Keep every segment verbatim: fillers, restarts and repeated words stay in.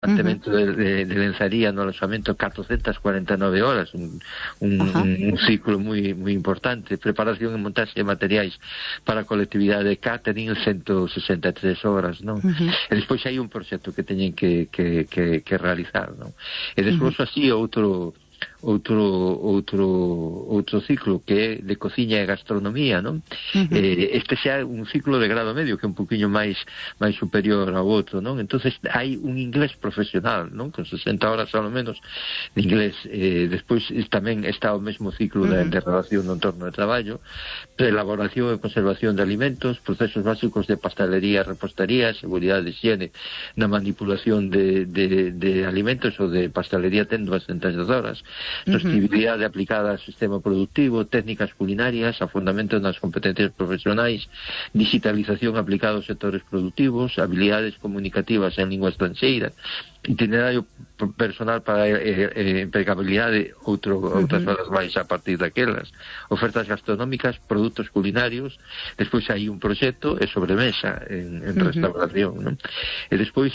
mantemento uh -huh. de, de, de lenzaría no alojamento catrocentas cuarenta e nove horas, un, un, uh -huh. un, un ciclo moi moi importante. Preparación e montaxe de materiais para a colectividade de catering, ciento sesenta e tres horas, non? Uh -huh. E despois hai un proxecto que teñen que, que, que, que realizar, non? E despois uh -huh. así outro outro outro outro ciclo que é de cociña e gastronomía, non? Uh -huh. eh, este xa é un ciclo de grado medio que é un poquinho máis máis superior ao outro, non? Entonces hai un inglés profesional, non? Con sesenta horas ao menos de inglés. Eh, despois tamén está o mesmo ciclo uh -huh. de, de relación no entorno de traballo, elaboración e conservación de alimentos, procesos básicos de pastelería, repostería, seguridade de higiene na manipulación de, de, de alimentos ou de pastelería ten doscientas horas, sostenibilidade uh -huh. aplicada ao sistema productivo, técnicas culinarias, afondamento nas competencias profesionais, digitalización aplicada aos sectores productivos, habilidades comunicativas en lingua estranxeira, itinerario personal para eh, eh, empregabilidade, outro, uh -huh. outras horas máis a partir daquelas, ofertas gastronómicas, produtos culinarios. Despois hai un proxecto e sobremesa en, en uh -huh. restauración, non? E despois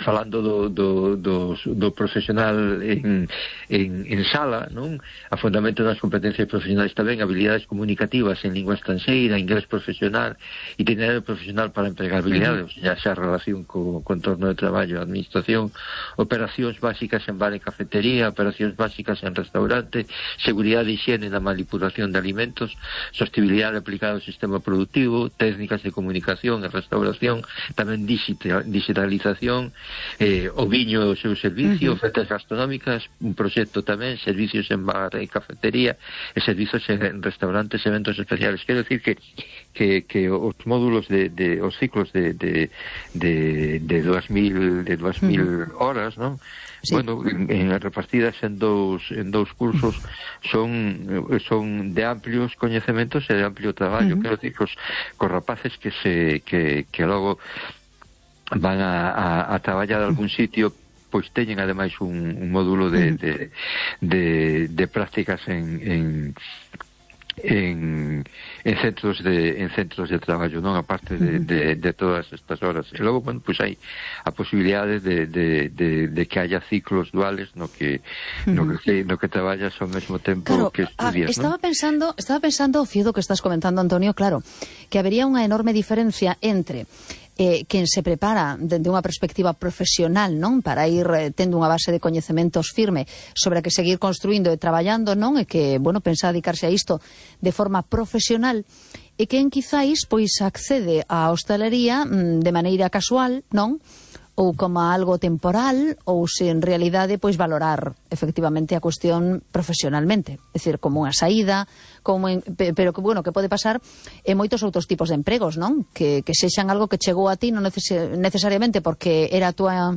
falando do, do, do, do profesional en, en, en sala, non? Afondamento das competencias profesionais tamén, habilidades comunicativas en lingua estranxeira, inglés profesional, itinerario profesional para empregabilidade, uh -huh. xa xa relación co, co entorno de traballo, administración, operacións básicas en bar e cafetería, operacións básicas en restaurante, seguridade e higiene na manipulación de alimentos, sostenibilidade aplicada ao sistema productivo, técnicas de comunicación e restauración, tamén digital, digitalización, Eh, o viño e o seu servicio, uh -huh. ofertas gastronómicas, un proxecto tamén, servicios en bar e cafetería e servicios en restaurantes, eventos especiales. Quero decir que que, que os módulos de, de os ciclos de de de de dúas mil de dúas mil uh -huh. horas, non? Sí. Bueno, en, en repartidas en dous en dous cursos son son de amplios coñecementos e de amplio traballo. Uh -huh. Quero decir que os, que os rapaces que se que que logo van a, a, a traballar a algún sitio, pois teñen ademais un, un módulo de, de, de, de prácticas en, en, en, en centros de en centros de traballo, non, aparte de, de, de todas estas horas. E logo, bueno, pois hai a posibilidade de, de, de, de que haya ciclos duales no que no que, no que traballas ao mesmo tempo, claro, que estudias, ah, estaba ¿no? pensando, estaba pensando, Fiedo, que estás comentando, Antonio, claro, que habería unha enorme diferencia entre Eh, quen se prepara dende unha perspectiva profesional, non, para ir eh, tendo unha base de coñecementos firme sobre a que seguir construindo e traballando, non, e que, bueno, pensa dedicarse a isto de forma profesional, e quen quizáis pois accede á hostalería mm, de maneira casual, non, ou como algo temporal, ou se en realidade pois valorar efectivamente a cuestión profesionalmente, é dicir, como unha saída, como en, pero que bueno, que pode pasar en moitos outros tipos de empregos, non? Que, que sexan algo que chegou a ti non neces necesariamente porque era a túa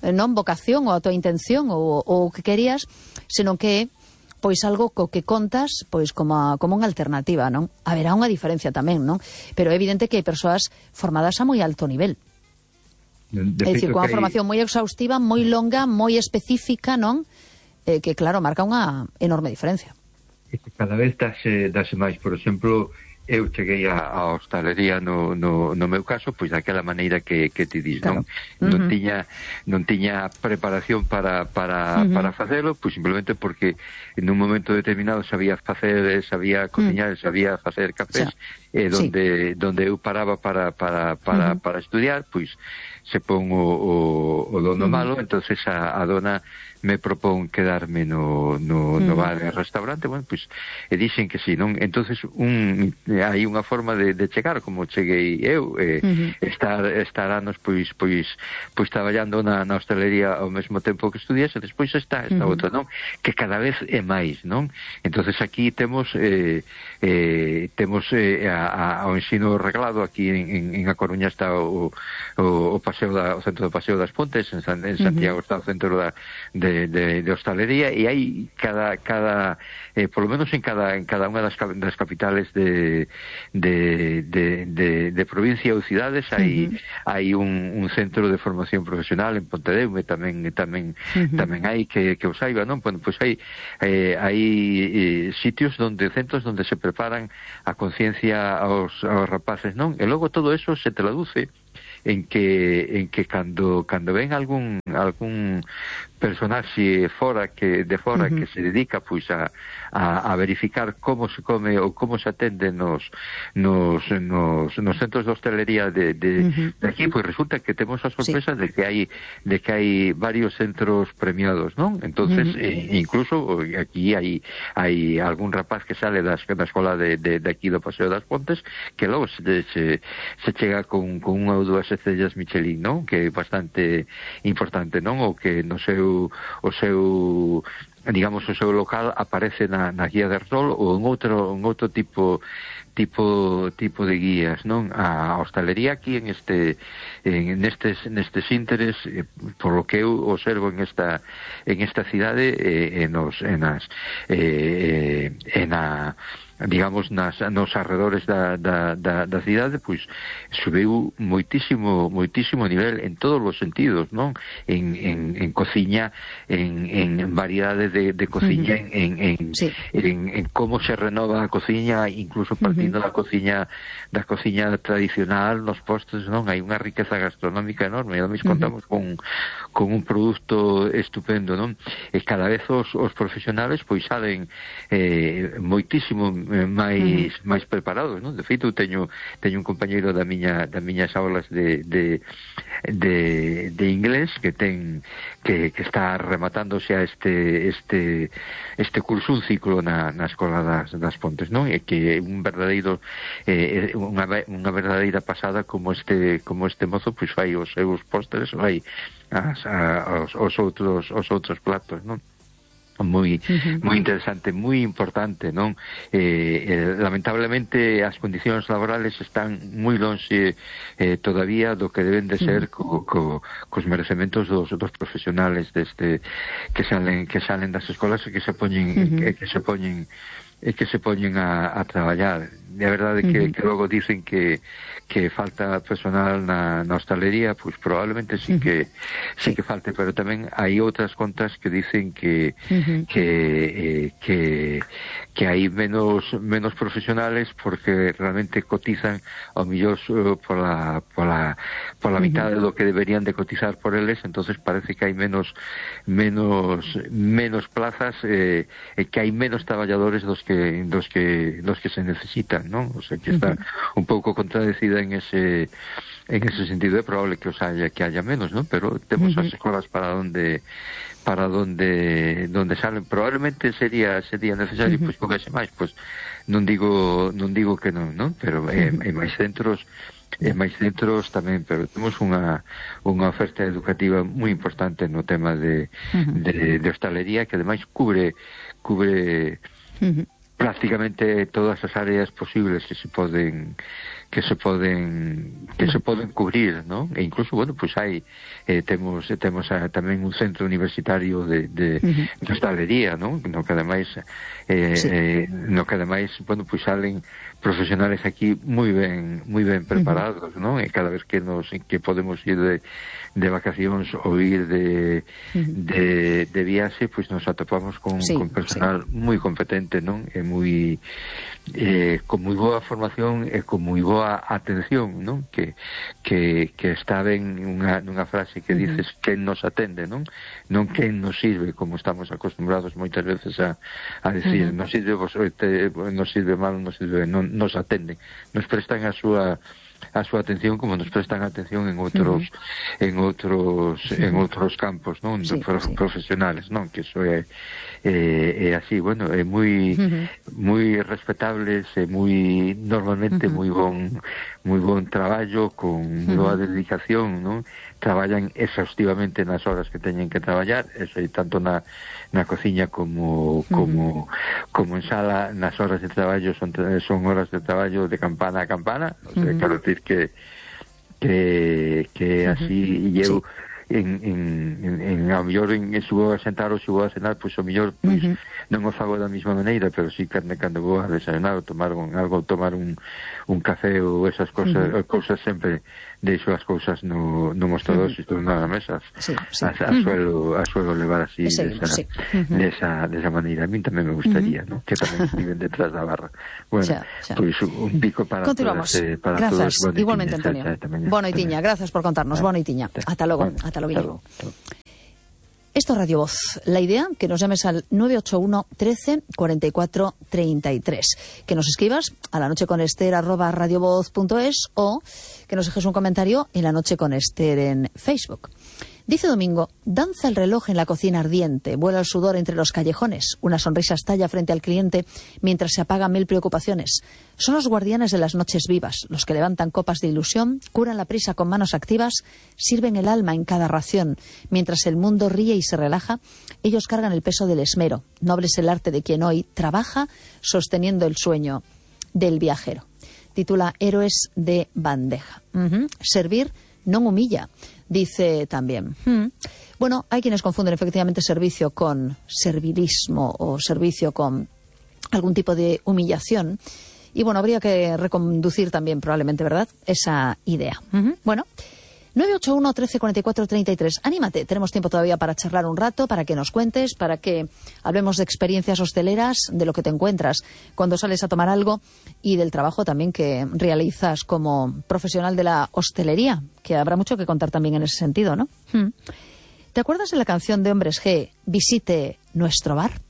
non vocación ou a túa intención ou o que querías, senón que pois algo co que contas pois como a, como unha alternativa, non? Haberá unha diferencia tamén, non? Pero é evidente que hai persoas formadas a moi alto nivel. De é dicir, con unha formación moi exhaustiva, moi longa, moi específica, non? Eh, que, claro, marca unha enorme diferencia. Cada vez dase, dase máis. Por exemplo, eu cheguei a, a hostalería no, no, no meu caso, pois daquela maneira que, que te dis, claro. Non? Uh -huh. Non tiña non tiña preparación para, para, uh -huh. para facelo, pois simplemente porque en un momento determinado sabía facer, sabía cociñar, uh -huh. sabía facer cafés, o sea, eh, donde, sí. donde eu paraba para, para, para, uh -huh. para estudiar, pois se pon o, o, o dono uh -huh. malo, entonces a, a dona me propón quedarme no, no, no bar e restaurante, bueno, pois, e dixen que sí, non? Entonces un, hai unha forma de, de chegar, como cheguei eu, eh, uh -huh. estar, estar anos, pois, pois, pois traballando na, na hostelería ao mesmo tempo que estudias, e despois está esta uh -huh. outra, non? Que cada vez é máis, non? Entonces aquí temos eh, eh, temos eh, a, a, o ensino reglado, aquí en, en, en A Coruña está o, o, o paseo da, o centro do Paseo das Pontes, en, San, en Santiago uh -huh. está o centro da, de De, de, de hostalería, e hai cada, cada eh, por lo menos en cada, en cada unha das, das capitales de, de, de, de, de provincia ou cidades hai, uh -huh. hai un, un centro de formación profesional en Pontedeume, tamén tamén uh -huh. tamén hai que, que o saiba, non? Bueno, pois hai eh, hai eh, sitios donde, centros donde se preparan a conciencia aos, aos rapaces, non? E logo todo eso se traduce en que en que cando cando ven algún algún personaxe fora que de fora uh-huh. que se dedica pois a, a, a verificar como se come ou como se atende nos nos, nos, nos centros de hostelería de, de, uh-huh. de aquí, pois resulta que temos a sorpresa sí. de que hai de que hai varios centros premiados, non? Entonces, uh-huh. eh, incluso aquí hai hai algún rapaz que sale das, da escola de, de, de aquí do Paseo das Pontes que logo se, se, se chega con, con unha ou dúas estrellas Michelin, non? Que é bastante importante, non? O que no seu o seu digamos o seu local aparece na, na guía de rol ou en outro en outro tipo tipo tipo de guías, non? A hostalería aquí en este en nestes nestes ínteres eh, por lo que eu observo en esta en esta cidade eh, en os en as eh, en a digamos nas nos arredores da, da, da, da cidade, pois subiu moitísimo moitísimo nivel en todos os sentidos, non? En, en, en cociña, en, en variedade de, de cociña, uh-huh. en, en, sí. en, en como se renova a cociña, incluso partindo uh-huh. da cociña da cociña tradicional, nos postres, non? Hai unha riqueza gastronómica enorme, e ademais uh-huh. contamos con, con un produto estupendo, non? E cada vez os, os profesionales pois salen eh, moitísimo máis uh-huh. máis preparados, non? De feito, teño teño un compañeiro da miña das miñas aulas de de de, de inglés que ten que, que está rematándose a este este este curso, un ciclo na, na escola das, das Pontes, non? E que é un verdadeiro eh, unha, unha verdadeira pasada como este como este mozo pois fai os seus postres, fai as, a, os, os outros os outros platos, non? moi uh-huh. moi interesante, moi importante, non? Eh, eh, lamentablemente as condicións laborales están moi lonxe eh, todavía do que deben de ser uh-huh. co, co, cos merecementos dos, dos profesionales deste que salen que salen das escolas e que se poñen uh-huh. que, que se poñen e que se poñen a, a traballar. De verdade que, uh-huh. que logo dicen que que falta personal na, na hostalería, pois probablemente sí que sí que falte, pero tamén hai outras contas que dicen que uh-huh. que eh, que que hai menos menos profesionales porque realmente cotizan ao millor uh, pola pola pola uh-huh. mitad do que deberían de cotizar por eles, entonces parece que hai menos menos menos plazas eh, e que hai menos traballadores dos que dos que dos que se necesitan, non? O sea, que está uh-huh. un pouco contradecida en ese en ese sentido. É probable que os haya que haya menos, ¿no? Pero temos uh-huh. as escolas para donde para donde donde salen. Probablemente sería sería necesario uh-huh. pois cogerse máis, pois non digo non digo que non, non? Pero uh-huh. hai máis centros e máis centros tamén, pero temos unha unha oferta educativa moi importante no tema de uh-huh. de, de hostalería, que ademais cubre cubre uh-huh. prácticamente todas as áreas posibles que se poden que se poden que se poden cubrir, ¿no? E incluso, bueno, pues hai eh, temos temos a, tamén un centro universitario de de, uh-huh. de hostalería, ¿no? No que ademais eh, sí. eh, no que ademais, bueno, pues salen profesionales aquí moi ben moi ben preparados, uh-huh. ¿no? E cada vez que nos que podemos ir de de vacacións ou ir de uh-huh. de de viaxe, pois pues nos atopamos con sí, con personal sí. moi competente, non? E moi eh, con moi boa formación e con moi boa atención, non? Que que que está ben unha nunha frase que dices uh-huh. quen nos atende, non? Non quen nos sirve, como estamos acostumbrados moitas veces a a decir, uh-huh. nos sirve vos, te, nos sirve mal, nos sirve, non nos atenden, nos prestan a súa a súa atención como nos prestan atención en outros uh-huh. en outros uh-huh. en outros campos, non? Sí, Pro, sí. profesionales, non? Que iso é é, é así, bueno, é moi uh-huh. moi respetables e moi normalmente uh-huh. moi bon moi bon traballo con uh-huh. boa dedicación, non? Traballan exhaustivamente nas horas que teñen que traballar, eso, tanto na na cociña como como uh-huh. como en sala. Nas horas de traballo son son horas de traballo de campana a campana, o sea, uh-huh. quero decir que que que uh-huh. así, e eu sí. en, en, en, en ao mellor en, en se vou a sentar ou se vou a cenar, pois ao mellor pois, uh-huh. non o fago da mesma maneira, pero sí cando, cando vou a desayunar ou tomar un, algo, tomar un, un café ou esas cosas, uh-huh. cousas sempre deixo as cousas no, no mostrador, uh-huh. se estou na mesa, sí, sí. a, a, uh-huh. suelo, a suelo levar así sí, desa, sí. Uh-huh. desa, desa maneira. A mí tamén me gustaría, uh-huh. ¿no? Que tamén viven detrás da barra. Bueno, xa, xa. Pois un pico para Continuamos. todas, eh, para grazas, todos. Igualmente, Antonio. Boa noitiña, grazas por contarnos. Boa noitiña. Ata logo, bueno, ata logo. Esto es Radio Voz. La idea, que nos llames al nueve ocho uno, trece, cuarenta y cuatro, treinta y tres. Que nos escribas a la noche con Esther arroba radiovoz punto es o que nos dejes un comentario en La Noche con Esther en Facebook. Dice Domingo, danza el reloj en la cocina ardiente, vuela el sudor entre los callejones, una sonrisa estalla frente al cliente mientras se apagan mil preocupaciones. Son los guardianes de las noches vivas, los que levantan copas de ilusión, curan la prisa con manos activas, sirven el alma en cada ración. Mientras el mundo ríe y se relaja, ellos cargan el peso del esmero. Noble es el arte de quien hoy trabaja sosteniendo el sueño del viajero. Titula Héroes de bandeja. Uh-huh. Servir no humilla. Dice también, hmm, bueno, hay quienes confunden efectivamente servicio con servilismo o servicio con algún tipo de humillación. Y bueno, habría que reconducir también probablemente, ¿verdad?, esa idea. Uh-huh. Bueno, nueve ocho uno, trece, cuarenta y cuatro, treinta y tres. Anímate, tenemos tiempo todavía para charlar un rato, para que nos cuentes, para que hablemos de experiencias hosteleras, de lo que te encuentras cuando sales a tomar algo y del trabajo también que realizas como profesional de la hostelería, que habrá mucho que contar también en ese sentido, ¿no? Hmm. ¿Te acuerdas de la canción de Hombres G, Visite nuestro bar?